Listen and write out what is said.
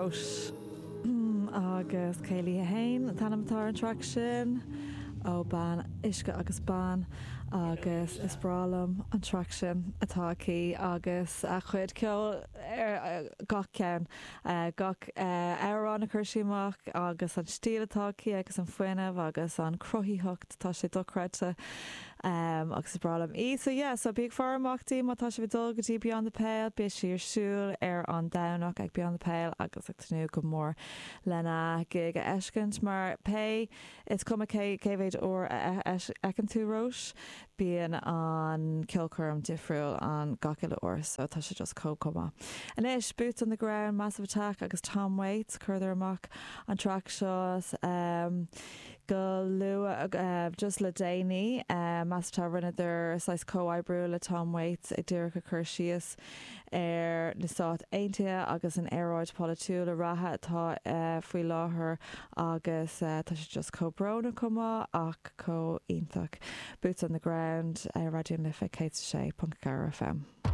Róis agus Céilí 1 an t-ainm atá ar an traic sin ó Bean Uisce agus Bean agus is breá liom an traic sin atá aici agus a cuid ceoil ar gach ceann, gach amhrán a chuir sí amach agus an stíl atá aici agus an fuinneamh agus an cruthaitheacht, tá sé dochreidte. Agus is breá liom í. So yeah, so bí ag faire amach di má tá sibh ag dul go dtí Beyond the Pale, beidh sí ar siúl ar an Domhnach ag Beyond the Pale agus ag tnúth go mór lena gig a fheiscint mar pé, is cuma cé cé mhéid uair a fheiceann tú Róis, bíonn an ceolchoirm difriúil an gach uile uair so tá sé just chomh chomh maith. Anois, Boots on the Ground, Massive Attack agus Tom Waits, chuireadar amach an traic seo. Go luath, just le déanaí, Massive Attack, rinneadar saghas comhoibriú le Tom Waits ag díreach ag cur síos ar na Stáit Aontaithe agus an aeráid polaitiúil reatha atá faoi láthair agus tá sé just chomh brónach chomh maith ach chomh iontach. Boots on the Ground ar Raidió na Life 106.4 FM.